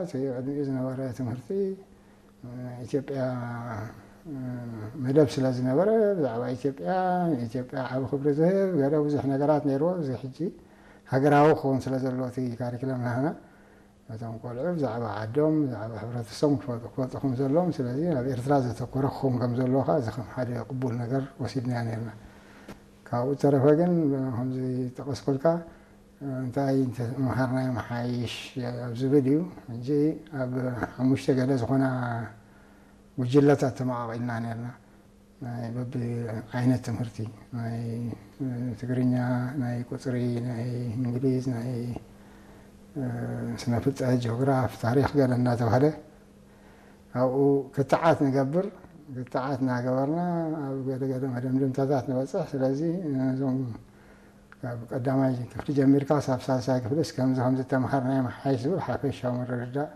እቲ ቅድሚኡ ዝነበረ ትምህርቲ ኢትዮጵያ መደብ ስለ ዝነበረ፣ ብዛዕባ ኢትዮጵያ፣ ንኢትዮጵያ ዓቢ ክብሪ ዝህብ ገለ ብዙሕ ነገራት ነይርዎ። እዚ ሕጂ ሃገራዊ ክኸውን ስለ ዘለዎ እቲ ካሪክለም ናህና፣ ነቶም ቆልዑ ብዛዕባ ዓዶም፣ ብዛዕባ ሕብረተሰቦም ክፈልጡ፣ ክፈልጡ ከም ዘለዎም፣ ስለዚ ናብ ኤርትራ ዘተኮረ ክኸውን ከም ዘለዎ ከኣ እዚ ከም ሓደ ቅቡል ነገር ወሲድናዮ ነርና። ካብኡ ዝተረፈ ግን፣ ከምዚ ጠቐስኩልካ፣ እንታይ እንተመሃርናዮ መሓይሽ ኣብ ዝብል እዩ። ሕጂ ኣብ ሓሙሽተ ገለ ዝኾና ጉጅለታት ተመቓቒልና ነርና። ናይ በብዓይነት ትምህርቲ፣ ናይ ትግርኛ፣ ናይ ቁጽሪ፣ ናይ እንግሊዝ፣ ናይ ስነ ፍልጠት፣ ጂኦግራፍ፣ ታሪኽ ገለ እናተባህለ ኣብኡ ክትዓት ንገብር። ክትዓት እናገበርና ኣብ ገለ ገለ መደምደምታታት ንበጽሕ። ስለዚ ነዞም ካብ ቀዳማይ ክፍሊ ጀሚርካ ሳብ ሳልሳይ ክፍልስ ከምዚ ከምዚ ተምሃርናዮ መሓይሽ ዝብል ሓፈሻዊ ምርድዳእ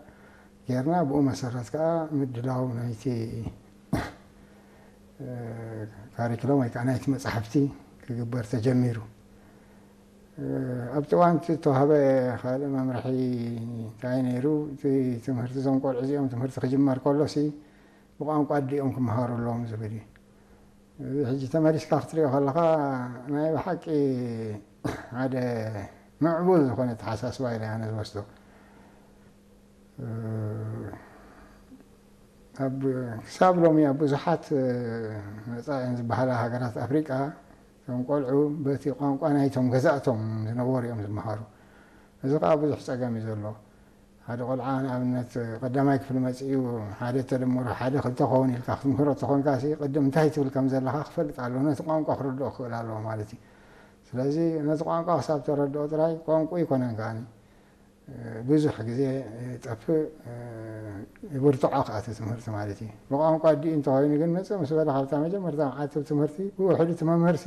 ጌርና፣ ብኡ መሰረት ከኣ ምድላው ናይቲ፣ እ፣ ካሪክሎም ወይ ከኣ ናይቲ መጻሕፍቲ ክግበር ተጀሚሩ። እ፣ ኣብቲ እዋን እቲ እተዋህበ ካልእ መምርሒ እንታይ ነይሩ? እቲ ትምህርቲ፣ እዞም ቆልዑ እዚኦም ትምህርቲ ክጅመር ከሎሲ ብቋንቋ ኣዲኦም ክመሃሩ ኣለዎም ዝብል እዩ። እዚ ሕጂ ተመሊስካ ክትሪኦ ከለኻ ናይ ብሓቂ ሓደ ምዕቡል ዝኾነ ኣተሓሳስባ ኢለ ኣነ ዝወስዶ። እ፣ ኣብ፣ ክሳብ ሎሚ ኣብ ብዙሓት፣ እ፣ መጻኢን ዝበሃላ ሃገራት ኣፍሪቃ እቶም ቆልዑ በቲ ቋንቋ ናይቶም ገዛእቶም ዝነበሩ እዮም ዝመሃሩ። እዚ ከኣ ብዙሕ ጸገም እዩ ዘሎ። ሓደ ቆልዓ ንኣብነት ቀዳማይ ክፍሊ መጺኡ ሓደ ተደምሮ ሓደ ክልተ ክኸውን ኢልካ ክትምህሮ ተኾንካሲ ቅድም እንታይ ትብል ከም ዘለኻ ክፈልጥ ኣለዎ። ነቲ ቋንቋ ክርድኦ ክኽእል ኣለዎ ማለት እዩ። ስለዚ ነቲ ቋንቋ ክሳብ ተረድኦ ጥራይ ቋንቋ ይኮነን ከኣኒ። ብዙሕ ግዜ ይጠፍእ፣ ይብርትዖ ከኣ እቲ ትምህርቲ ማለት እዩ። ብቋንቋ ኣዲኡ እንተኾይኑ ግን መጽእ ምስ በለ ካብታ መጀመርታ መዓልቲ ትምህርቲ ብውሕዱ እቲ መምህርሲ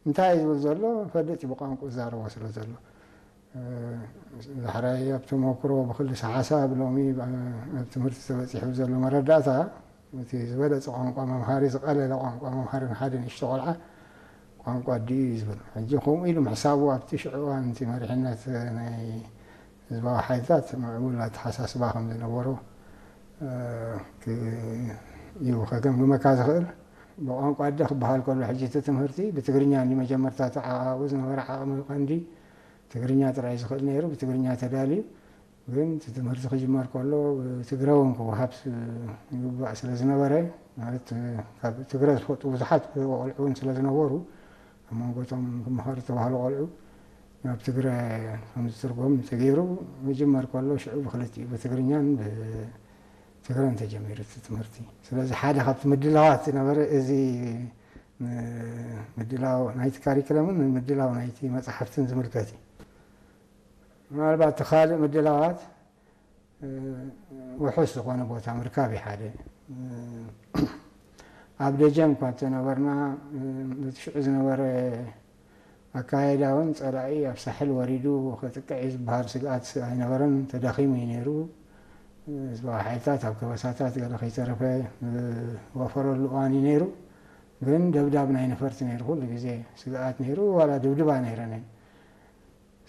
እንታይ እዩ ዝብል ዘሎ ፈልጥ እዩ ብቋንቋ ዝዛረቦ ስለ ዘሎ። ዳሕራይ ኣብ ተመክሮ ብክልሰ ሓሳብ ሎሚ ኣብ ትምህርቲ ተበጺሑ ዘሎ መረዳእታ እቲ ዝበለጸ ቋንቋ መምሃሪ ዝቐለለ ቋንቋ መምሃሪ ንሓደ ንእሽቶ ቆልዓ ቋንቋ ኣዲኡ እዩ ዝብል። ሕጂ ከምኡ ኢሉ ምሕሳቡ ኣብቲ ሽዑ እዋን እቲ መሪሕነት ናይ ህዝባዊ ሓይልታት ምዕቡል ኣተሓሳስባ ከም ዝነበሮ፣ እ፣ ክ-፣ እዩ ከገምግመካ ዝኽእል። ብቋንቋ ኣደ ክበሃል ከሎ ሕጂ እቲ ትምህርቲ ብትግርኛ እንዲ መጀመርታ እቲ ዓቓቑ ዝነበረ ዓቕሚ ቀንዲ ትግርኛ ጥራይ ዝኽእል ነይሩ፣ ብትግርኛ ተዳልዩ። ግን እቲ ትምህርቲ ክጅመር ከሎ ብትግረ እውን ክወሃብ ስ-፣ ይግባእ ስለ ዝነበረ፣ ማለት ካብ ትግረ ዝፈልጡ ብዙሓት ቆልዑ እውን ስለ ዝነበሩ፣ ኣብ መንጎ እቶም ክመሃሩ ዝተባህሉ ቆልዑ ናብ ትግረ ከም ዝትርጎም ተገይሩ። ክጅመር ከሎ ሽዑ ብክልቲኡ ብትግርኛን ብትግረን ተጀሚሩ እቲ ትምህርቲ። ስለዚ ሓደ ካብቲ ምድላዋት ዝነበረ እዚ ም-፣ ምድላው ናይቲ ካሪክለምን ምድላው ናይቲ መጽሓፍትን ዝምልከት እዩ። ምናልባት እቲ ካልእ ምድላዋት፣ እ፣ ውሑስ ዝኾነ ቦታ ምርካብ እዩ ሓደ። እ፣ ኣብ ደጀን እኳ እንተነበርና፣ እ፣ በቲ ሽዑ ዝነበረ ኣካያይዳ እውን ጸላኢ ኣብ ሳሕል ወሪዱ ከጥቅዕ እዩ ዝበሃል ስግኣት ኣይነበረን። ተዳኺሙ እዩ ነይሩ። ህዝባዊ ሓይልታት ኣብ ከበሳታት ገለ ከይተረፈ ዝወፈረሉ እዋን እዩ ነይሩ። ግን ደብዳብ ናይ ነፈርቲ ነይሩ፣ ኩሉ ግዜ ስግኣት ነይሩ። ዋላ ድብድባ ነይረን እየን።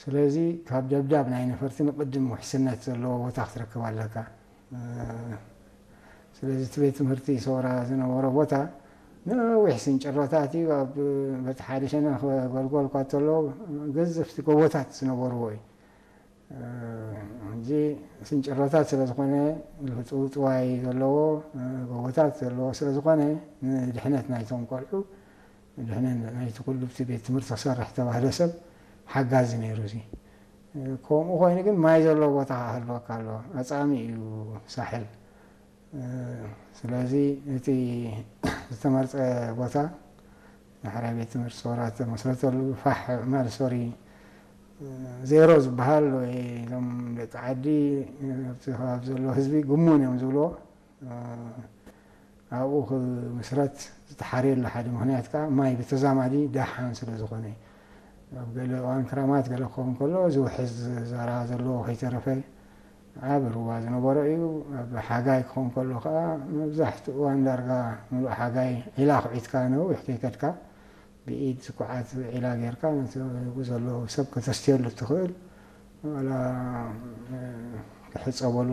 ስለዚ ካብ ደብዳብ ናይ ነፈርቲ ንቕድም ውሕስነት ዘለዎ ቦታ ክትረክብ ኣለካ። እ፣ ስለዚ እቲ ቤት ትምህርቲ ሰውራ ዝነበሮ ቦታ ነዊሕ ስንጭሮታት እዩ። ኣብ በቲ ሓደ ሸነኽ ጎልጎል እኳ እንተሎ ገዘፍቲ ጎቦታት ዝነበርዎ እዩ። እ፣ ሕጂ ስንጭሮታት ስለ ዝኾነ፣ ውጥውጥዋይ ዘለዎ፣ እ፣ ጎቦታት ዘለዎ ስለ ዝኾነ፣ ንድሕነት ናይቶም ቆልዑ፣ ንድሕነት ናይቲ ኩሉ እቲ ቤት ትምህርቲ ክሰርሕ ዝተባህለ ሰብ ሓጋዚ ነይሩ። እዚ፣ እ፣ ከምኡ ኮይኑ ግን ማይ ዘለዎ ቦታ ክህልወካ ኣለዎ። ኣጻሚ እዩ ሳሕል። እ፣ ስለዚ እቲ ዝተመርጸ ቦታ ዳሕራይ ቤት ትምህርቲ ሰውራ ዝተመስረተሉ ፋሕ ምዕማል ሶሪ፣ እ፣ ዜሮ ዝበሃል ወይ እዞም ደቂ ዓዲ፣ እ፣ ኣብቲ ከባቢ ዘሎ ህዝቢ ግሙን እዮም ዝብልዎ። እ፣ ኣብኡ ክምስረት ዝተሓርየሉ ሓደ ምኽንያት ከኣ ማይ ብተዛማዲ ደሓን ስለ ዝኾነ እዩ። ኣብ ገለ እዋን ክራማት ገለ ክኸውን ከሎ ዝውሕዝ ዘራ ዘለዎ ከይተረፈ ዓቢ ሩባ ዝነበሮ እዩ። ኣብ ሓጋይ ክኸውን ከሎ ከኣ መብዛሕትኡ እዋን ዳርጋ ምሉእ ሓጋይ ዒላ ኩዒትካ ነዊሕ ከይከድካ ብኢድ ዝኩዓት ዒላ ጌርካ ነቲ ኣብኡ ዘሎ ሰብ ከተስትየሉ እትኽእል ዋላ፣ እ፣ ክሕጸበሉ